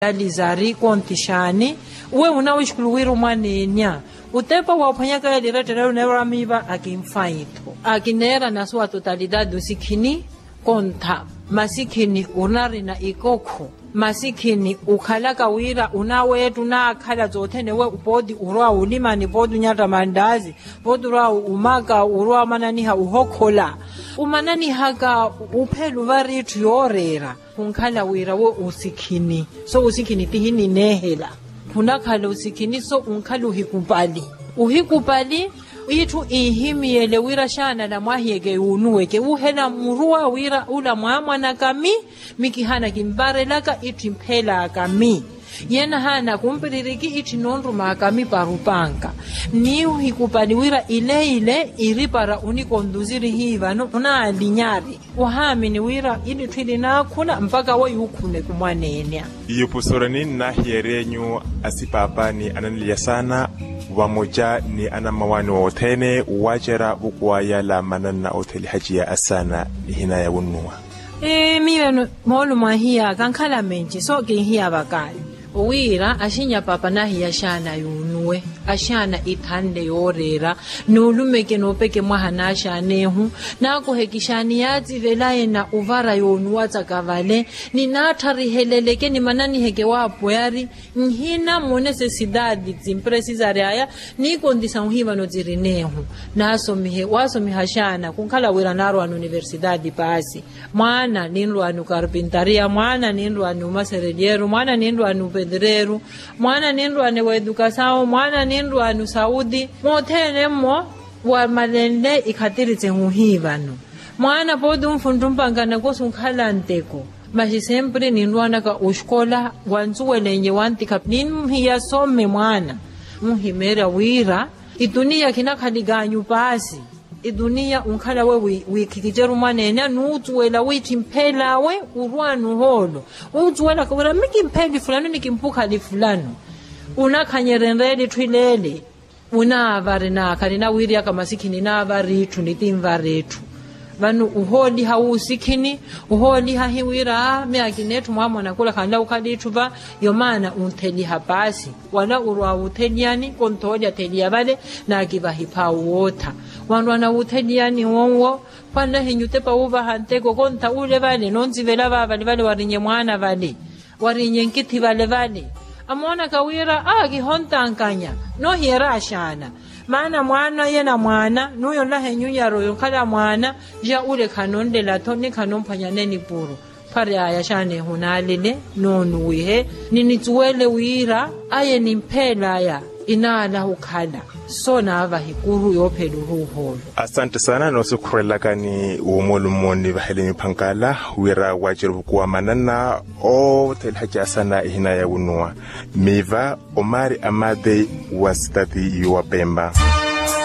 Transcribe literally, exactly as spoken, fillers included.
Alizari konti xaani? Uwe unawixikulu wira omwaneenya utepa waphwanyaka yaliretterela oneera miiva akinfaitho akineera na sua totalidade osikhini. Kontha masikhini onarina ikokho masikhini okhalaka wira onaweetta onaakhala sothene we pooti orwa olimani pooti onyatta mandaasi pooti orwa omaka orwa omananiha ohokhola omananihaka ophelu vari itthu yooreera. Khunkhala wira we osikhini so osikhini tihinineehela khunakhala osikhini so onkhala ohikupali ohikupali itthu inhimiyele wira xaanala mwahiyeke yuunuweke wuhela muruwa wira ula mwaamwanaka mi mi kihaana kimparelaka itthu imphelaka mi yena haana kumpiririki itthu inoonrumaka mi para opanka ni ohikupali wira ile ile iri para onikontusiri hiivano onaalinyari ohaamini wira ilitthu ilinaakhuna mpaka weyuukhuneke omwaneenya. Iyo pusorani nnaahiyeryenyu asipaapa ni ananlya saana vamoca ni anammawaani othene waacera vukuwaya la mananna othelihaciya asaana nihinaya wunnuwa. Miyo moolumo ahiyaka nkhala menci so kinhiya vakaayi owiira axinya paapa nahiya axaana yuunuwe axaana ithanle yooreera nuulumeke noopeke mwaha naaxaanehu naakoheke xaani yaatsivelaye na ovara yoonuwatsaka vale ni naattariheleleke ni mananiheke waapweyari nhina munecesitaati tsimpresisary'aya ni kontisa nhivano tsirineehu naasomihe waasomiha xaana kunkhala wira naarwa n'universitaati paasi mwaana ninrwaani okarpintariya mwaana ninrwaani omaserelyeru mwaana ninrwaani opedreru mwaana ninrwaani weetukasawu mwaana ninrwaani osawuti mothene mmo wamalenle ikhatiri tsehu hiivano mwaana pooti onfuntumpanga nakosi onkhala nteko maxi sempre ninrwaanaka oxikola wansuwelenye wantikha ninhiya some mwaana onhimeerya wira ituniya khinakhalik'anyu paasi ituniya onkhala we wiikhikiceri omwaneene anuusuwela wiitthimphel'awe orwaani ohoolo onsuwelaka wira mi kimpheli fulano ni kimpukhali fulano onakhanyerya enreela itthu ileele onaavari naakha ninawiiriyaka masikhini naavari itthu nitinvari itthu vano ohooliha wuusikhini ohooliha hiwira mi akineetthu mwaamwanakula khanla okhala itthu va yomaana ontheliha paasi wala orwa wuutheliyani konthoolya theliya vale naakivahiphaawu wootha wanrwaana wuutheliyani wonwo khwannahinyu otepa wuuvaha nteko kontha ule vale nontsivela vaavale vale warinye mwaana vale warinye nkithi vale vale amoonaka wira a kihontankanya noohiyera axaana maana mwaana yena mwaana nuuyo nlahenyu nyaro yonkhala mwaana ja ule khanonlela-tho ni khanonphwanyane nipuro phary'aya xaana ehunaalele noonuwihe ni nitsuwele wira aye ni mpheel'aya inaalaha okhala so naavaha ikuru yoophela oruuha olo. Asante saana noosikhurelakani womolumo nivahele miphankala wira waaceruvukuwa manana othelihaci asana ihinaya wunuwa miiva omaari amate wa sitati yowapempa.